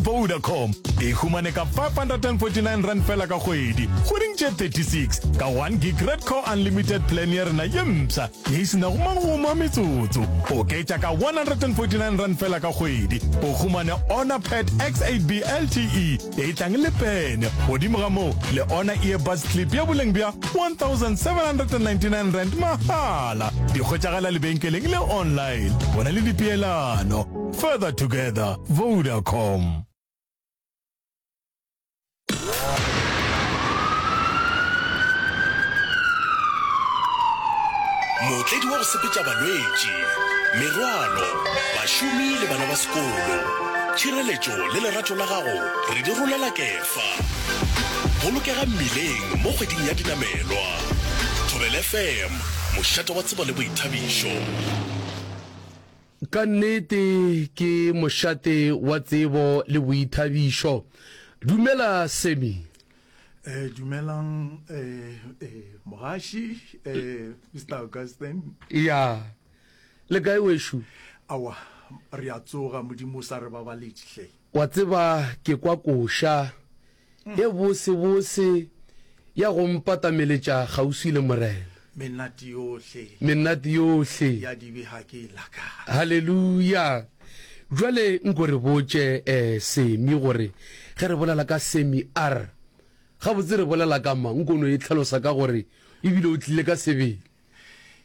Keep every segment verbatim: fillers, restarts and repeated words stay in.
Vodacom e humane ka five hundred and forty nine rand fela ka kgwedi kgweding tše thirty six ka one gig Red Core Unlimited plan ya rena ye mpsha ye e se nago magomo a metsotso. Oketša ka one hundred and forty nine rand fela ka kgwedi o humane Honor Pad X eight B L T E ye e tlang le pene, godimo ga moo le Honor Earbuds Clip ya boleng bja one thousand seven hundred and ninety nine rand mahala. Di hwetšagala lebenkeleng le online. Go na le dipeelano. Further together, Vodacom. Mootledi wa go sepetša balwetši, merwalo, bašomi le bana ba sekolo. Tšhireletšo le lerato la gago re di rolela kefa. Bolokega mmileng mo kgweding ya dinamelwa. Thobela F M, mošate wa tsebo le boithabišo. Ka nnete ke mošate wa tsebo le boithabišo. Dumela Sammy. Eh, dumelang eh, eh, mogaši eh, Mister Augustine. Ya, le kae wešo? Aowa, re a tsoga, Modimo o sa re babaletše hle. Wa tseba ke kwa koša ye bosebose ya go mpatameletša kgauswi le Morena. Menate yohle. Menate yohle. Ya dibe ga ke e lakane. Haleluya! Bjale nko re botše, eh, Semi, gore ge re bolela ka Semi R, gabotse re bolela ka mang? Nko no e hlalosa ka gore ebile o tlile ka sebele.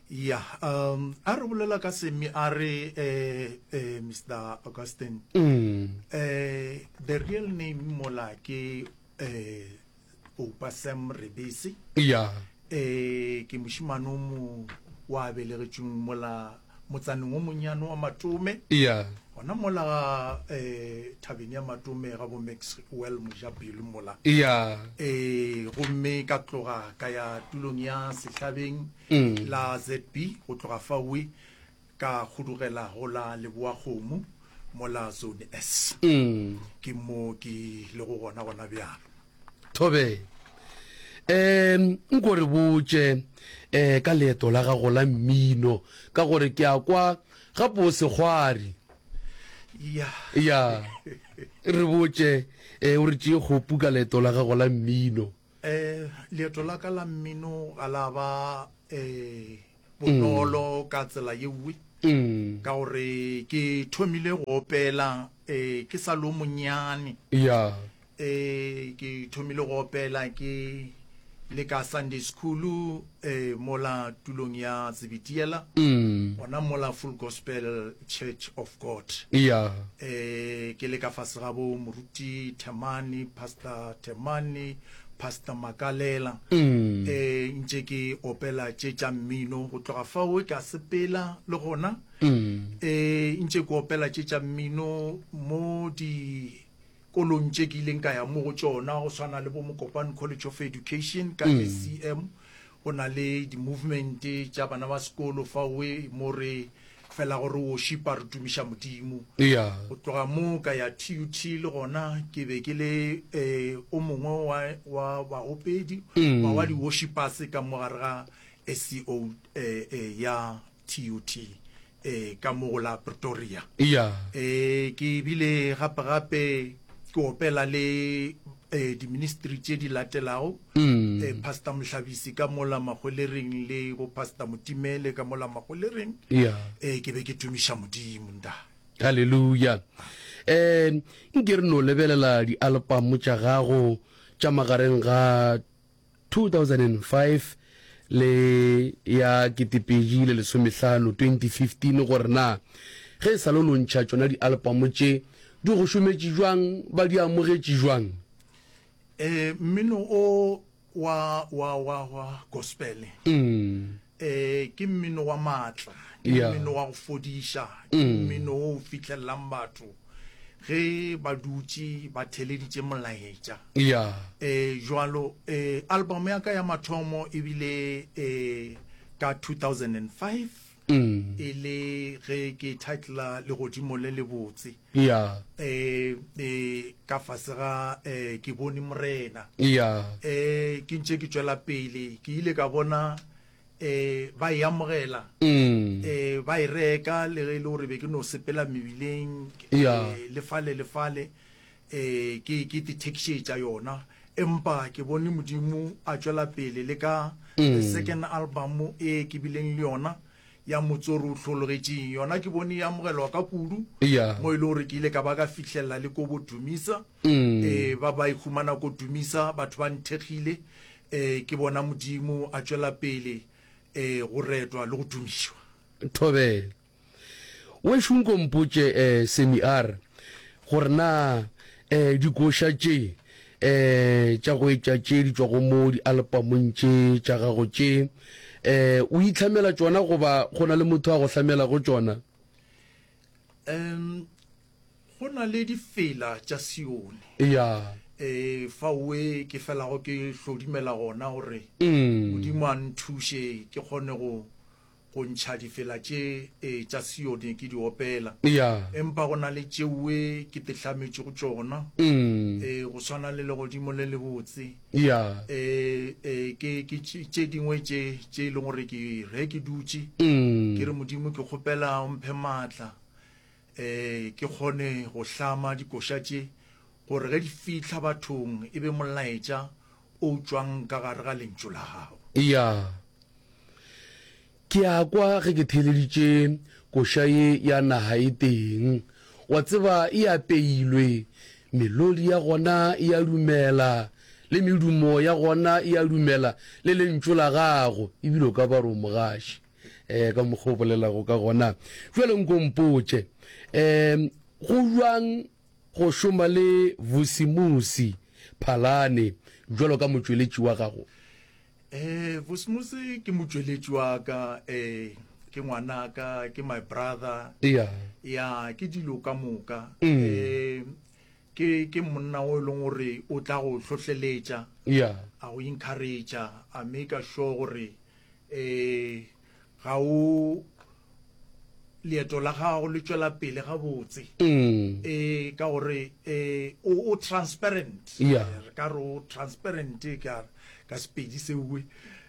Ya, um, a re bolela ka Semi R, eh, eh, Mister Augustine. Mm. Eh, the real name mola ke, eh, Oupa Sam Rebese. Ya. Eh, ke mošemane o mo wa belegetšweng mola motsaneng o monnyane wa Matome. Ya. Gona mola ga, eh, thabeng ya Matome ga bo Maxwell Mojapelo mola. Ya. Eh, gomme ka tloga ka ya tulong ya Sehlabeng Mm. la Z B, go tloga faowe ka kgodugela go la Leboakgomo mola Zone S. Mm. Ke mo ke lego gona gona bjalo. Thobela. Um, nko re botše eh ka leeto la gago la mmino, ka gore ke a kwa gape o sekgwari. Ya. Ya. Re botše eh o re tšee kgopu ka leeto la gago la mmino. Eh, leeto la ka la mmino ga la ba eh bonolo ka tsela ye nngwe. Mm. Ka gore ke thomile go opela eh ke sa le o monnyane. Ya. Eh, ke thomile go opela ke le ka Sunday school eh mola tulong ya Zebediela. Mm. Gona mola Full Gospel Church of God. Ya. Eh, ke le ka fase ga bo moruti Themane, Pastor Themane, Pastor Makalela. Mm. Eh, ntše ke opela tše tša mmino go tloga fao ka sepela le gona. Mm. Eh, ntše ke opela tše tša mmino mo di kolong tše ke ileng ka ya mo go tšona, go swana le bo Mokopane College of Education ka Mm. S C M. Go na le di-movement tša bana ba sekolo faoe mo re fela gore worshipa re tumiša Modimo. Ya. Go tloga mo ka ya T U T le gona ke be ke le, eh, o mongwe wa, wa baopedi, Mm. wa, wa di-worshipers ka mo gare ga S C O, eh, eh, ya T U T, eh, ka mo go la Pretoria. Ya. Eh, ke bile gape gape ke opela le, eh, di-ministry tše di latelago. Mm. Eh, Pastor Mohlabisi ka mola Magwelereng le bo Pastor Motimele ka mola Magwelereng. Ya. Eh, ke be ke tumiša Modimo nda. Hallelujah. Eh, nke re no lebelela di-album tša gago tša magareng ga two thousand and five le ya ketepedi le lesomehlano, twenty fifteen, gore na ge e sa le no ntšha tšona di-album tše di go šometše jwang, ba di amogetše jwang? Eh, mmino o wa, wa, wa, wa gospel. Mm. Eh, ke mmino wa maatla, ke Yeah. mmino wa go fodiša, ke Mm. mmino o fihlellang batho ge ba dutše ba theleditše molaetša. Yeah. Eh, jwalo, eh, album ya ka ya mathomo e bile, eh, ka two thousand and five. Mm. E le ge ke titla Legodimo le Lebotse. Yeah. Eh, eh, ka fase ga, eh, ke bone Morena. Yeah. Eh, ke ntše ke tšwela pele, ke ile ka bona, eh, ba e amogela. Mm. Eh, ba e reka le ge e le gore be ke no sepela mebileng, Yeah. eh, le fale le fale. eh ke ke ithekishetša yona empa ke bone Modimo a tšwela pele le ka the second album e ke bileng le yona ya Motsoro o hlologetšeng yona ke bone e amogelwa ka kudu Yeah. mo e le gore ke ile ka ba ka fihlelela le ko bo Dumisa eh ba ba ikhumana ko Dumisa batho ba nthekgile eh ke bona Modimo a tšwela pele eh go retwa le go tumišwa. Thobela. Wešo nko mpotše eh Sammy R gore na eh dikoša tše eh tša go etša tše di tšwago mo dialpamong tše tša gago tše eh o itlhamela tšona goba go na le motho a go hlamelago tšona? Um go na le difela tša Sione. Ya. Eh faoe ke felago ke hlodimela gona gore Mm. Modimo a nthuše ke kgone go go ntšha difela tše eh, tša Sione ke di opela. Ya. Empa go na le tšeoe ke tehlametše go tšona. Mm. Eh go swana le legodimo le lebotse. Ya. Eh eh ke ke tše tše dingwe tše tše e leng gore ke re ke dutše Mm. ke re Modimo ke kgopela o mphe maatla eh ke kgone go hlama dikoša tše gore ge di fihla bathong e be molaetša o tšwang ka gare ga lentšu la gago. Ya. Ke a kwa ge ke theeleditše koša ye ya naga e teng. Wa tseba e apeilwe, melodi ya gona e a dumela, le medumo ya gona e a dumela, le lentšu la gago, ebile o ka ba re o mogaši um ka mokgwa o bolelago ka gona. Bjale nko mpotše, um go bjang go šoma le Vusimusi Phalane bjalo ka motšweletši wa gago? Eh Vusimusi ke motšweletši wa ka, eh ke ngwanaka, ke my brother. Ya. Ya ke dilo ka moka. Mm. Eh ke ke monna o e leng gore o tla go hlohleletša, Ya. a go encourage, a make sure gore eh ga o leeto la gago le tšwela pele gabotse. Mm. Eh ka gore eh o o transparent. Yeah. Re ka re o transparent ka ka Sepedi seo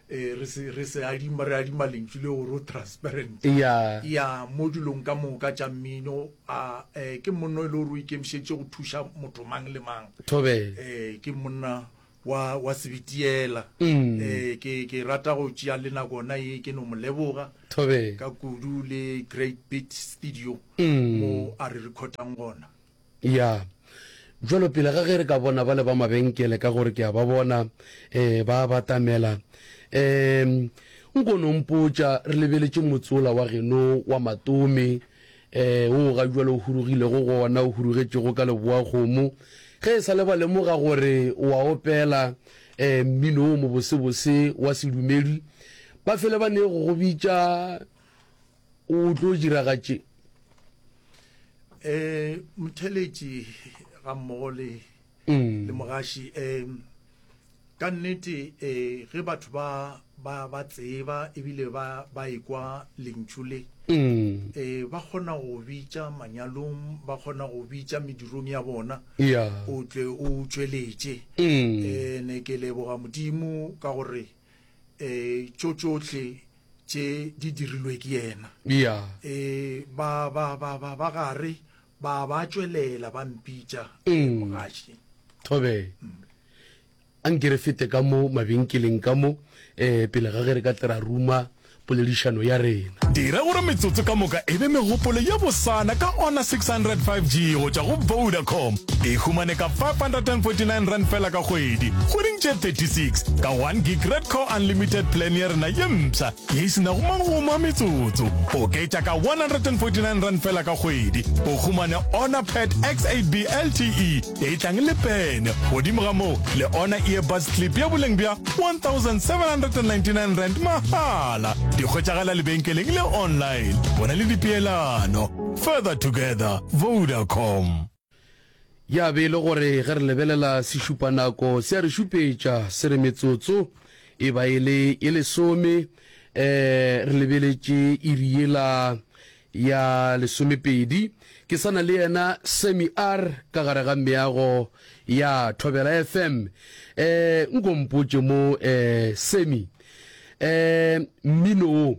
eh re se re se adima re adima lentšu le gore o transparent. Ya. Ya mo dilong ka moka tša mmino a eh ke monna e le gore o ikemišeditše go thuša motho mang le mang. Thobela. Eh ke monna wa wa sebitiela. Mm. Eh ke ke rata go tšea le nako yona ye ke no mo leboga Thobela. ka kudu le Great Beat Studio Mm. mo a re recordang gona. Ya. Jwalo pele ga ge re ka bona ba le ba mabenkele ka gore ke a ba bona eh ba batamela em nko no mpotša re lebeletše motsola wa geno wa Matome eh o ga jwalo o hurugilego gona o hurugetšego ka leboa kgomo ge e sa le ba lemoga gore o a opela eh mmino o mobosebose wa sedumedi ba fele ba ne go go bitša o tlo diragatše. Eh motheletši ga mmogo le Mm. le mogaši eh ka nnete eh ge batho ba ba ba tseba ebile ba ba ekwa lentšu le Mm. eh ba kgona go bitša manyalong, ba kgona go bitša medirong ya bona Ya. o tle o tšweletše. Mm. Eh ne ke leboga Modimo ka gore eh tšo tšohle tše di dirilwe ke yena. Ya. Eh ba ba ba ba ba gare ba ba tšwelela ba mpitša Mm. mogaši. Thobela. A nke re fete ka mo mabenkeleng ka mo eh pele ga ge re ka tle ra ruma poledišano ya rena. Dira gore metsotso ka moka e be megopolo ye bosana ka Honor six hundred five G go tšwa go Vodacom. E humane ka five hundred and forty-nine rand fela ka kgwedi, kgweding tše thirty-six ka one gig Redco Unlimited plan ya rena ye mpsha ye e senago magomo a metsotso. Oketša ka one hundred and forty-nine rand fela ka kgwedi, o humane Honor Pad X eight B L T E e tlang le pene. Godimo ga moo le Honor Earbuds Clip ya boleng bja one thousand seven hundred and ninety-nine rand mahala. Di hwetšagala lebenkeleng le online. Bona le dipeelano. Further together, Vodacom. Ya be e le gore ge re lebelela sešupanako se a re šupetša se re metsotso e ba e le e lesome eh re lebeletše iri yela ya lesomepedi. Ke sana le yena Sammy R ka gare ga meago ya Thobela F M. Eh nko mpotše mo eh Sammy eh mmino o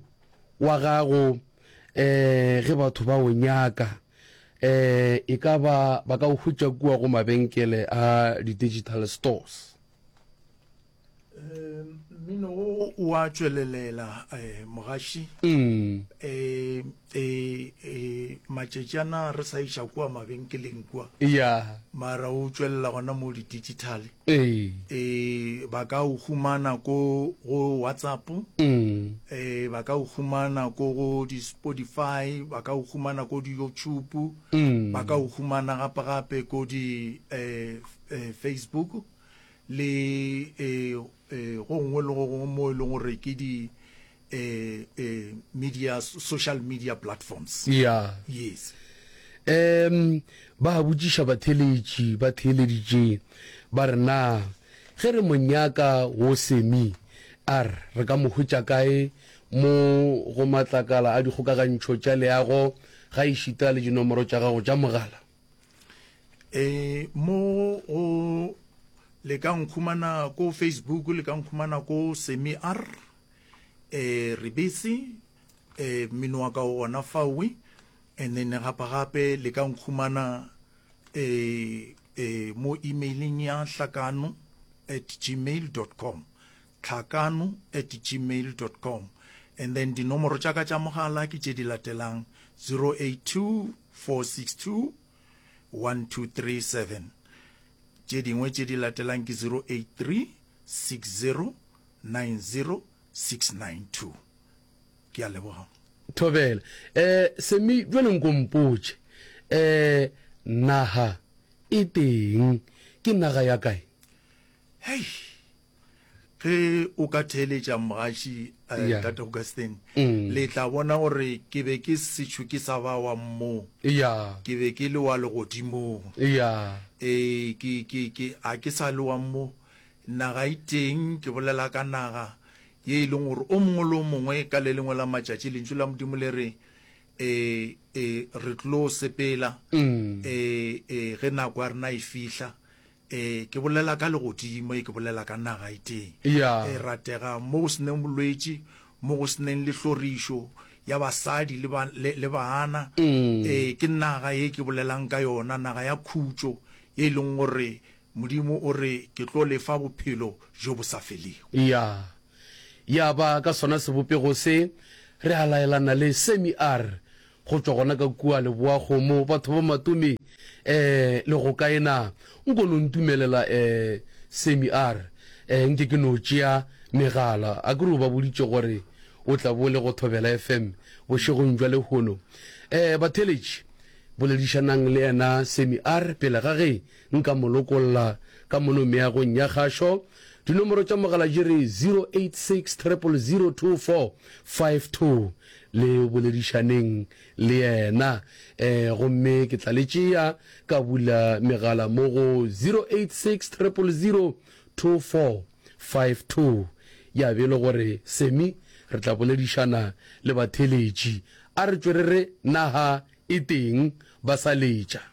wa gago eh ge batho ba o nyaka Eh e ka ba ba ka o hwetša kua go mabenkele a di-digital stores? Um mmino wo o a tšwelelela eh, mogaši. Mm. Eh, eh, eh, matšatšana re sa iša kua mabenkeleng kua. Ya. Mara o tšwelela gona mo di-digital. Ee. Eh, ba ka o humana ko go WhatsApp. Mm. Eh, ba ka o humana ko go di-Spotify, ba ka o humana ko di-YouTube, Mm. ba ka o humana gape gape ko di eh, eh, Facebook le eh, eh, go nngwe le go gongwe mo e leng gore ke di eh, eh, media, social media platforms. Ya. Yes. Um ba botšiša batheeletši ba theeleditše ba re na ge re mo nyaka wo Semi a re re ka mo hwetša kae mo go matlakala a dikgokagantšho tša leago ga ešita le dinomoro tša gago tša mogala? Eh, mo go le ka nkhumana ko Facebook, le ka nkhumana ko Semi R, eh, Rebese, eh, mmino wa ka o gona fawe, and then gape gape le ka nkhumana, eh, eh, mo emailing ya hlakano at gmail dot com, hlakano at gmail dot com, and then dinomoro tša ka tša mogala ke tše di latelang zero eight two four six two one two three seven, tše dingwe tše di latelang ke zero eight three six zero nine zero six nine two. Ke a leboga. Thobela. Eh, Semi, jwale nko mpotše, eh, naga e teng ke naga ya kae? Hei, ge o ka theeletša mogaši, eh, Yeah. Tate Augustine, Mm. le tla bona gore ke be ke sešo ke sa ba wa mmoo. Ya. Ke be ke le wa legodimong. Ya. Eh, ke, ke, ke, a ke sa le wa mmoo. Naga e teng, ke bolela ka naga ye e leng gore o mongwe le o mongwe ka le lengwe la matšatši lentšu la Modimo le re, eh, eh, re tlo sepela, Mm. eh, eh, ge nako ya rena e fihla. Eh, ke bolela ka legodimo, e ke bolela ka naga e teng. Ya. E ratega mo go seneng bolwetši, mo go seneng le hlorišo ya basadi le ba, le, le baana. Mm. Eh, ke naga ye ke bolelang ka yona, naga ya khutšo ye e leng gore Modimo o re ke tlo lefa bophelo jo bo sa felego. Ya. Ya ba ka sona sebopego se re a laelana le Semi R go tšwa gona ka kua Leboakgomo, batho ba Matome, eh, le go kae na? Nko no ntumelela, eh, Semi R, eh, nke ke no tšea megala. A ke re o ba boditše gore o tla bo le go Thobela F M bošegong jwa lehono. Eh, batheeletši, boledišanang le yena Semi R pele ga ge nka mo lokolla ka mono meagong ya kgašo. Dinomoro tša mogala di re zero eight six triple zero two four five two. Le boledišaneng le yena, eh, gomme ke tla le tšea ka bula megala mo go zero eight six triple zero two four five two. Ya be le gore Semi re tla boledišana le batheeletši. A re tšwe re re naga e teng ba sa letša.